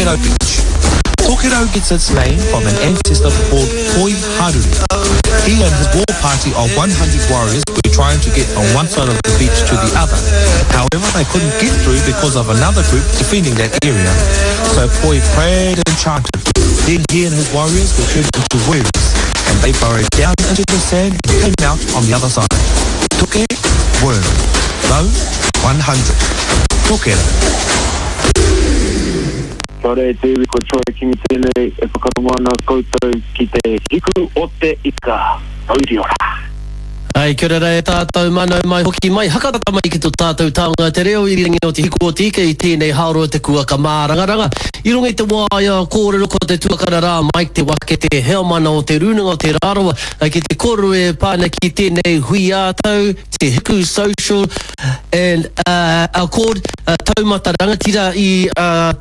Tokerau Beach. Tokerau gets its name from an ancestor called Poi Haruru. He and his war party of 100 warriors were trying to get from one side of the beach to the other. However, they couldn't get through because of another group defending that area. So Poi prayed and chanted. Then he and his warriors were turned into worms, and they burrowed down into the sand and came out on the other side. Toke, worm. Rau, 100. Tokerau. Kia ora e te iwi, ko Troy Kingi tēnei e whakarongo ana koutou ki te Hiku o te Ika. Mauri ora! Ai, kia ora rā e tātou, manau mai hoki mai, hakatata mai ki to tātou taonga te reo irirangi o Te Hiku o Te Ika i tēnei haoro o te kuaka mārangaranga. I runga i te waea kōrero ko te tuakana rā Mike Te Wake te heamana o Te Rūnanga o Te Rarawa ki te kōrero e pā ana ki tēnei hui ā-tau, Te Hiku Social and Accord taumata rangatira i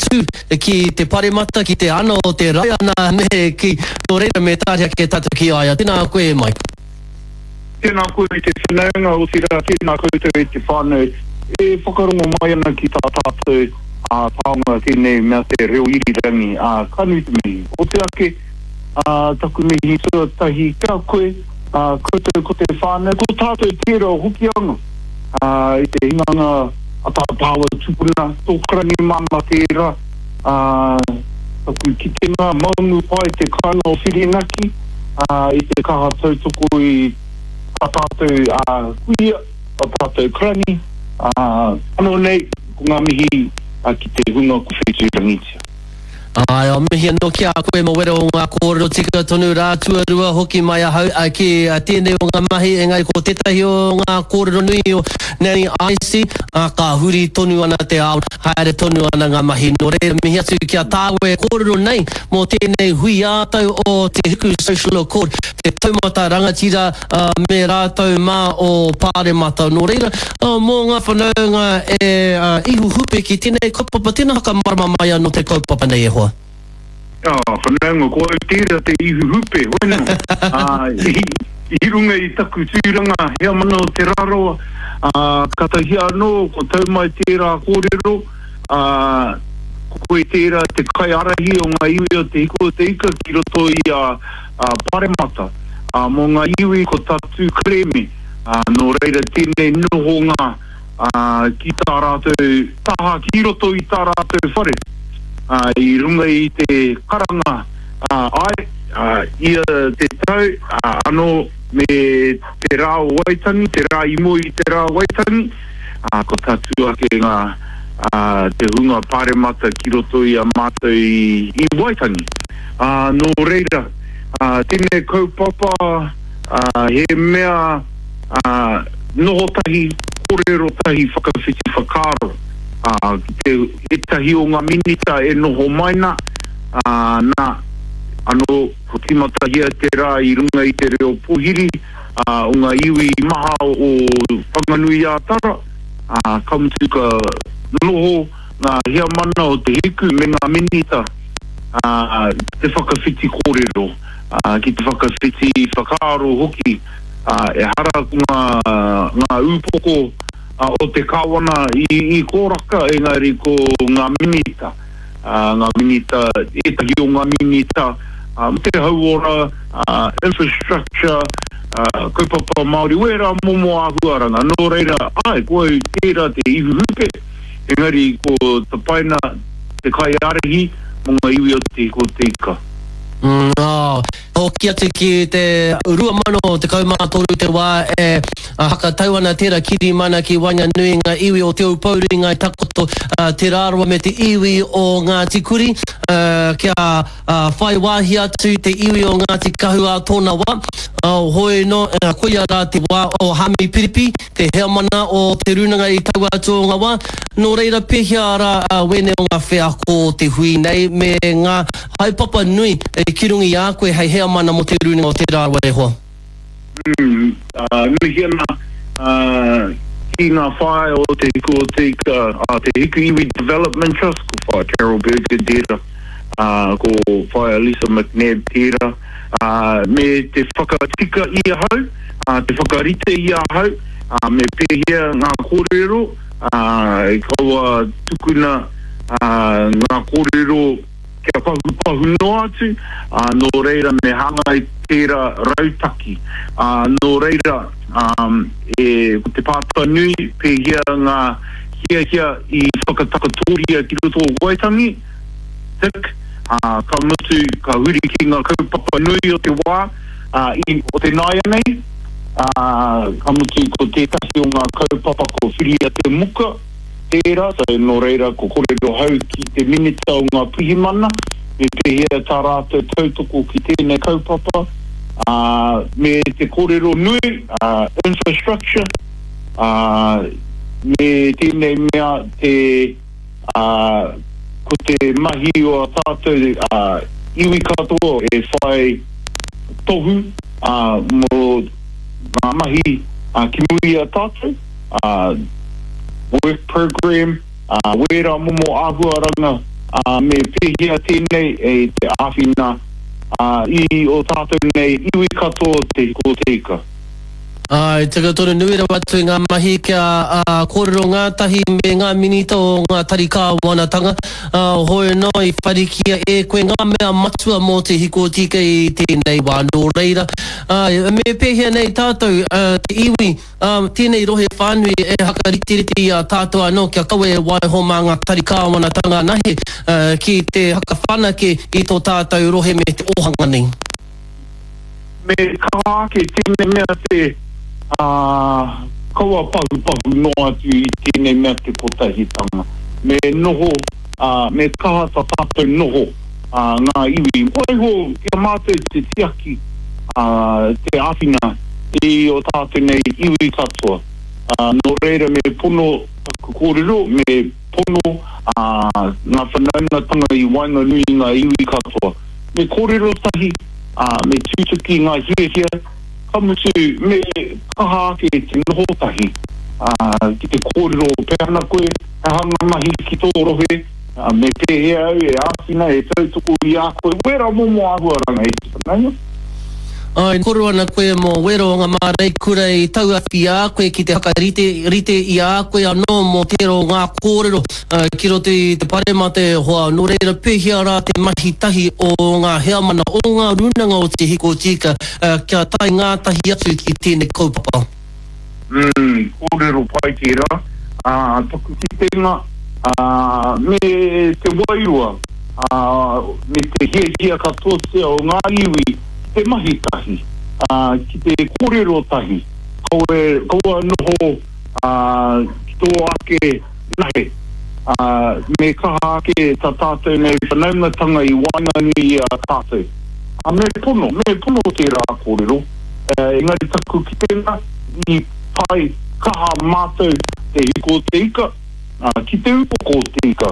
tū ki te paremata, ki te ana o te raiana me ki, nō reira me tāria ake tātou ki a ia. Tēnā koe e Mike. Tēnā koe e te whanaunga, otirā tēnā koutou e te whānau e whakarongo mai ana ki tā tātou taonga tēnei mea te reo irirangi, ā, ka nui te mihi. O te ake, ā, taku mihi tuatahi ki a koe, ā, koutou ko te whānau, ko tātou tērā o Hokianga, ā, i te hinganga a tā tāua tupuna, tō Karangi māmā tērā, ā, taku kitenga, maungu pai te kāinga o Whirinaki, ā, i te kaha tautoko i tā tātou kuia, tā tātou karani, ā, anō nei, ko ngā mihi ki te hunga ko whetūrangitia. Āe, o mihi anō ki a koe mo wera o ngā kōrero tika tonu rā tuarua hoki mai ahau ki tēnei o ngā mahi engari ko tētahi o ngā kōrero nui o Nanny Icy, ā, ka huri tonu ana te ao Haere tonu ana ngā mahi, nō reira mihi atu ki a tāua e kōrero nei mō tēnei hui ā-tau o Te Hiku Social Accord, te taumata rangatira me rātou mā o Pāremata. Nō reira, mō ngā whanaunga e ihu hupe ki tēnei kaupapa, tēnā whakamarama mai anō te kaupapa nei e hoa. Oh, whanaunga, ko au tērā te ihu hupe, hoino. I runga i taku tūranga heamana o Te Rarawa, katahi anō ko tau mai tērā kōrero, ko koe tērā te kaiārahi o ngā iwi o Te Hiku o Te Ika ki roto i a Paremata. Mō ngā iwi ko Tatū Kerēme, nō reira tēnei nohonga ki tā rātou taha ki roto i tā rātou whare, i runga i te karanga āe, ia te tau, anō me te rā o Waitangi, te rā i mua i te rā o Waitangi, ka tatū ake ngā, te hunga paremata ki roto i a mātou i Waitangi. Nō reira, tēnei kaupapa he mea. ā, noho tahi, kōrero tahi, whakawhiti whakaaro, ā, ki te, ētahi o ngā minita e noho mai nā, ā, nā, anō, kua tīmatahia te rā i runga i te reo pōhiri, ā, o ngā iwi maha o Whanganui-ā-Tara, ā, ka mutu ka noho ngā heamana o Te Hiku me ngā minita, ā, ki te whakawhiti kōrero, ā, ki te whakawhiti whakaaro hoki. Ā, ehara ko ngā, ngā ūpoko o te Kāwana i, i kōraka, engari ko ngā minita, ā, ngā minita, ētahi o ngā minita, ā, mō te hauora, ā, infrastructure, ā, kaupapa Māori, wērā momo āhuaranga. Nō reira, āe, ko au tērā te ihu hupe, engari ko Tapaina te kaiārahi mō ngā iwi o Te Hiku o Te Ika. Nā. Hoki atu ki te 2013 te wā e hakatau ana tērā kirimana ki waenganui i ngā iwi o Te Aupōuri, Ngāi Takoto, Te Rarawa me te iwi o Ngāti Kuri kia whai wāhi atu te iwi o Ngāti Kahu ā tōna wā. Hoi nō, koia rā te wā o Hami Piripi, te heamana o Te Rūnanga i taua atu o ngā wā. Nō reira pēhea rā wēnei o ngā wheako o te hui nei me ngā Haepapa nui ki runga i a koe hei heamana mo te Runanga o te Rarawa e hoa. Mihi ana ki ngā whaea o Te Hiku o Te Ika, Te Hiku Iwi Development Trust, ko Whaea Carol Berger tērā, ko Whaea Lisa McNab tērā, me te whakatika i ahau, te whakarite i ahau, me pēhea ngā kōrero, kaua tukuna ngā kōrero. kia pahupahu noa atu, ā, nō reira me hāngai tērā rautaki. Ā, nō reira, ā, e, ko te pātai nui, pēhea ngā hiahia i whakatakatoria ki roto o Waitangi, tick, ā, ka mutu, ka huri ki ngā kaupapa nui o te wā, ā, i, o te nāianei, ā, ka mutu ko tētahi o ngā kaupapa ko Whiria te Muka, tērā, so nō reira ko kōrero hau ki te Minita o ngā Pirihimana me pēhea tā rātou tautoko ki tēnei kaupapa, ā, me te kōrero nui, ā, infrastructure, ā, me tēnei mea te, ā, ko te mahi o a tātou, ā, iwi katoa e whai tohu, ā, mō ngā mahi, ā, ki muri i a tātou. ā, work programme, ā, wērā momo āhuaranga, ā, me pēhea tēnei e te āwhina, ā, i ō tātou nei iwi katoa te hiko o te ika. Āe, tika tonu, nui rawa atu i ngā mahi kia, ā, kōrero ngātahi me ngā Minita o ngā tari kāwanatanga, ā, hoi anō i wharikia e koe ngā mea matua mō te hiko tika i tēnei wā. Nō reira, āe, me pēhea nei tātou, ā, te iwi, Ā, tēnei rohe whānui e hakariterite i a tātou anō kia kaua e waiho mā ngā tari kāwanatanga anahe ki te hakawhanake i tō tātou rohe me te ōhanga nei. Me kaha ake tēnei mea te, ā, kaua pahupahu noa atu i tēnei mea te kotahitanga. Me noho, ā, me kaha tā tātou noho, ā, ngā iwi. Waiho ki a mātou te tiaki, ā, te āwhina i ō tātou nei iwi katoa. Ā, nō reira me pono taku kōrero, me pono, ā, ngā whanaungatanga i waenganui i ngā iwi katoa. Me kōrero tahi, ā, me tutuki ngā hiahia, ka mutu me kaha ake te noho tahi, ā, ki te kōrero pea ana koe, he aha ngā mahi ki tō rohe, ā, me pēhea au e āwhina, e tautoko i a koe, wērā momo āhuaranga e te whanaunga. Āe, kōrero ana koe mō wera o ngā māreikura i tauawhi i a koe ki te whakarite rite i a koe anō mō tērā o ngā kōrero ki roto i te paremata e hoa. Nō reira, pēhea rā te mahi tahi o ngā heamana, o ngā rūnanga o Te Hiko Tika kia tae ngātahi atu ki tēnei kaupapa? Umm, kōrero pai tērā. Ā, taku kitenga, ā, me te wairua, ā, me te hiahia katoatia o ngā iwi ki te mahi tahi, ā, ki te kōrero tahi, kaua, kaua noho, ā, ki tō ake nahe, ā, me kaha ake tā tātou nei whanaungatanga i waenganui i a tātou. Ā, me pono, me pono tērā kōrero. Engari taku kitenga, i pai kaha mātou te hiko o te ika, ki te upoko o te ika,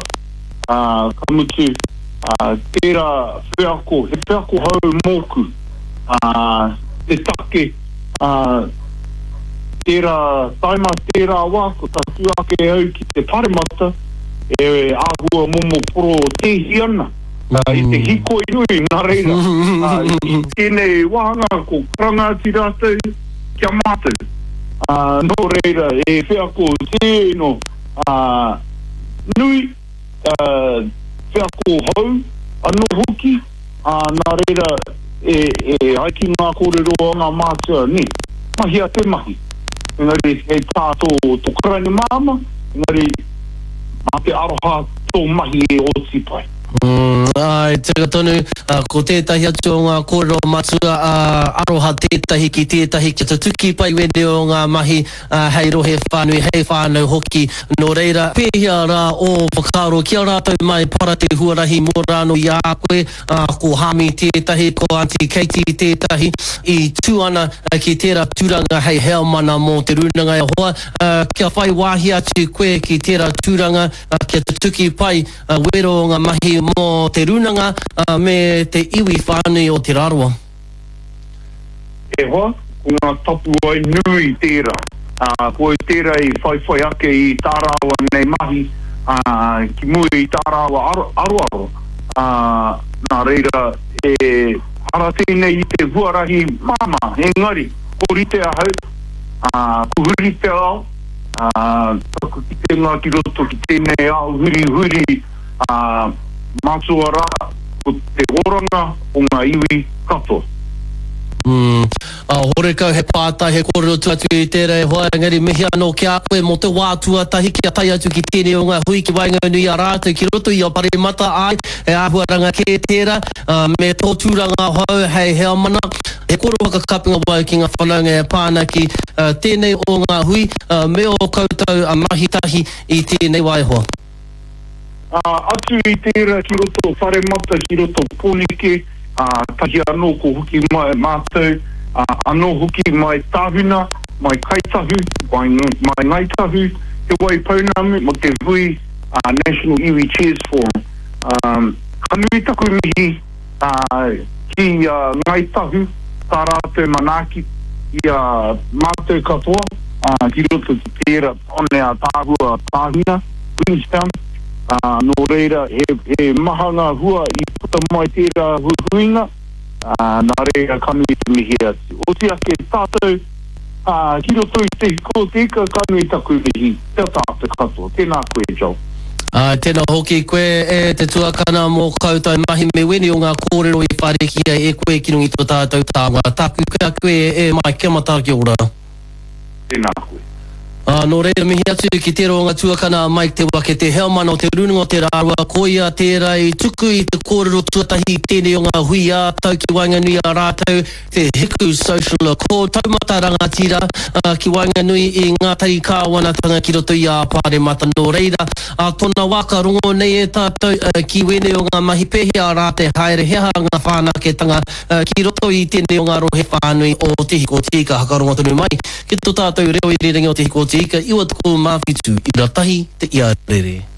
ka mutu, tērā wheako, he wheako hou mōku, te take, tērā taima, tērā wā, ko tatū ake au ki te paremata, e āhua momo porotēhi ana. I te hikoi nui, nā reira, i tēnei wāhanga ko karanga atu rātou ki a mātou. Nō reira, he wheako tino nui, wheako hou anō hoki, nā reira, e ai ki ngā kōrero a ngā mātua, nē, mahia te mahi. Engari, hei tā tō karani māmā, engari, mā te aroha tō mahi e oti pai. Āe, tika tonu, ko tētahi atu o ngā kōrero matua, aroha tētahi ki tētahi kia tutuki pai wēnei o ngā mahi hei rohe whānui, hei whānau hoki. Nō reira, pēhea rā ō whakaaro ki a rātou mai para te huarahi mō rānō i a koe, ko Hāmi tētahi, ko Aunty Katie tētahi, i tū ana ki tērā tūranga hei heamana mō Te Rūnanga e hoa, kia whai wāhi atu koe ki tērā tūranga kia tutuki pai wero o ngā mahi mō Te Rūnanga me te iwi whānui o Te Rarawa. E hoa, ko ngā tapuwae nui tērā. Ko au tērā i whaiwhai ake i tā rāua nei mahi ki mua i tā rāua aroaro. Nā reira, ehara tēnei i te huarahi māmā, engari, ko rite ahau, ko huri te ao, Ā, taku kitenga ki roto ki tēnei ao hurihuri, ā, mātua rā, ko te oranga o ngā iwi katoa. Umm. Horekau he pātai, he kōrero tua atu i tērā e hoa, engari mihi anō ki a koe mō te wā tuatahi kia tae atu ki tēnei o ngā hui ki waenganui i a rātou ki roto i a Paremata, āe, he āhuaranga kē tērā, me tō tūranga hou hei heamana. He kōrero whakakapinga wau ki ngā whanaunga e pā ana ki tēnei o ngā hui, me ō koutou mahi tahi i tēnei wā e hoa. Ā, atu i tērā ki roto Paremata, ki roto Pōneke, ā, tahi anō ko hoki mai mātou, ā, anō hoki mai Tāhuna, mai Kaitahu, mai, mai Ngāi Tahu, Te Wai Pounamu mō te hui ā, National Iwi Chairs Forum. Ā, ka nui taku mihi, ā, ki a Ngāi Tahu, tā rātou manaaki i a mātou katoa, ā, ki roto ki tērā one ātaahua Tāhuna. Queenstown, ā, nō reira he, he maha ngā hua i puta mai tērā huihuinga, ā, nā reira ka nui te mihi atu. Oti ake tātou, ā, ki roto i te hiko o te ika, ka nui taku mihi ki a tātou katoa. Tēnā koe, Joel. Ā, tēnā hoki koe e te tuakana mō koutou mahi me wēnei o ngā kōrero i whārikia e koe ki runga i tō tātou taonga. Tāku ki a koe e Mike, kia mataara kia ora. Tēnā koe. Ā, nō reira, mihi atu ki tērā o ngā tuakana a Mike Te Wake, te heamana o Te Rūnanga o Te Rārua, koia tērā i tuku i te kōrero tuatahi i tēnei o ngā hui ā-tau ki waenganui i a rātou, te Hiku Social Accord, taumata rangatira, ā, ki waenganui i ngā tari kāwanatanga ki roto i ā Pāremata. Nō reira, ā tōna wā ka rongo nei e tātou, ā, ki wēnei o ngā mahi pēhea rā te haere, he aha ngā whanaketanga, Ki roto i tēnei o ngā rohe whānui o Te Hiko Tīka hakarongo tonu mai ki to tātou reo irirangi o Te Hiko Tīka 97 ira tahi te iarere.